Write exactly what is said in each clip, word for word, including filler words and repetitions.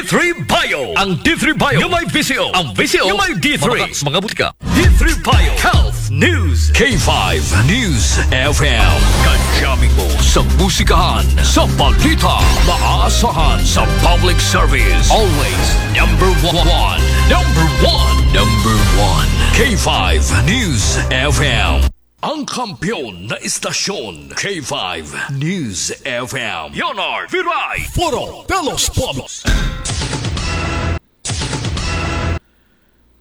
three Bio. Ang D three Bio, yung may visyo. Ang visyo, yung may D three. Mga, mga butika. D three Bio Health News. K five News F M. Kajaming mo sa musikahan, sa balita, maasahan sa public service. Always number one. Number one. Number one. K five News F M. Ang kampiyon na istasyon, K five News F M. Leonard Viray. Foro de los Pueblos.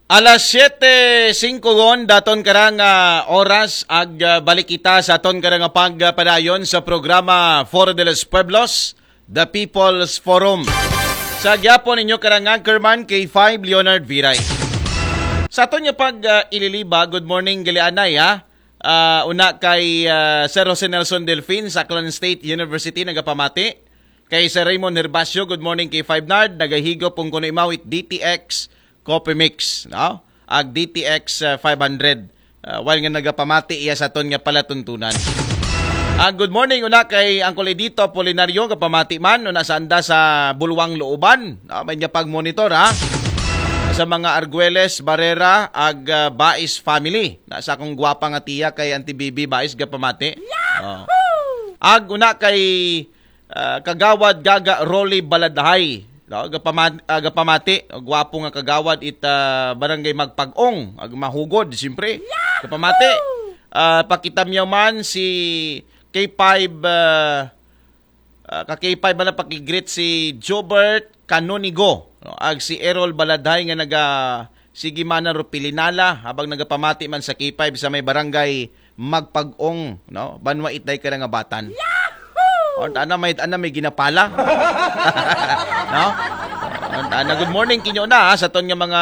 Alas siyete singko gon daton karang ah, oras ag ah, balik kita sa aton karang pagpadayon sa programa Foro de los Pueblos, The People's Forum. Sa gyapon ninyo karang anchorman K five Leonard Viray. Sa aton nga pag ah, ililiba, good morning gali anay ha. Ah, una kay ah, Sir Jose Nelson Delfin sa Aklan State University nagapamati. Kay Sir Raymond Herbacio, good morning kay five Nard, nagahigop kung kuno imawit D T X Coffee Mix, no? Ag D T X ah, five hundred. Ah, while nga nagapamati iya sa aton nga palatuntunan. Ah, good morning una kay Uncle Edito Apolinario, gapamati man una sa anda sa Bulwang Looban. No? May niya pag-monitor ha. Sa mga Arguelles, Barrera, ag ah, Bais family. Na sa akong gwapa nga tiya kay Auntie Bibi Bais gapamati. Oh. Ag una kay ah, Kagawad Gaga Rolly Baladhay. No? Gapama- ah, gapamati, gwapo nga kagawad it ah, barangay Magpag-ong, ag mahugod siyempre. Gapamati. Ah, pakita man si K five ah, ah, ka K five man na pakigreet si Jobert Canonigo, no? Ag si Errol Baladhay nga naga sige man na ro pilinala habang nagapamati man sa K five sa may barangay Magpag-ong, no? Banwa Itday ka nga batan. On ana may ana may ginapala. No? On ana, good morning kinyo na ha, sa ton nga mga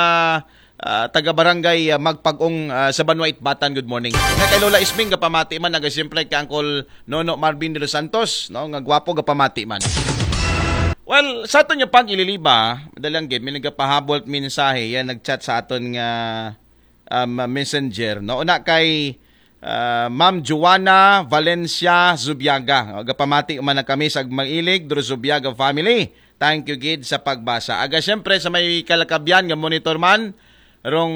ah, taga barangay ah, Magpag-ong ah, sa Banwa Itbatan, good morning. Nga kay Lola Isming gapamati man, naga siyempre kay Uncle Nono Marvin de los Santos, no? Nga gwapo gapamati man. Well, sa aton nga pag-ililiba, madalang gid may nagapahabol mensahe, yan nag-chat sa aton nga um, messenger, no? Una kay ah, Ma'am Joanna Valencia Zubiaga. O, gapamati man na kami sa Magmailig, Dro Zubiaga family. Thank you gid sa pagbasa. Aga siyempre sa may kalakabyan nga monitor man, rong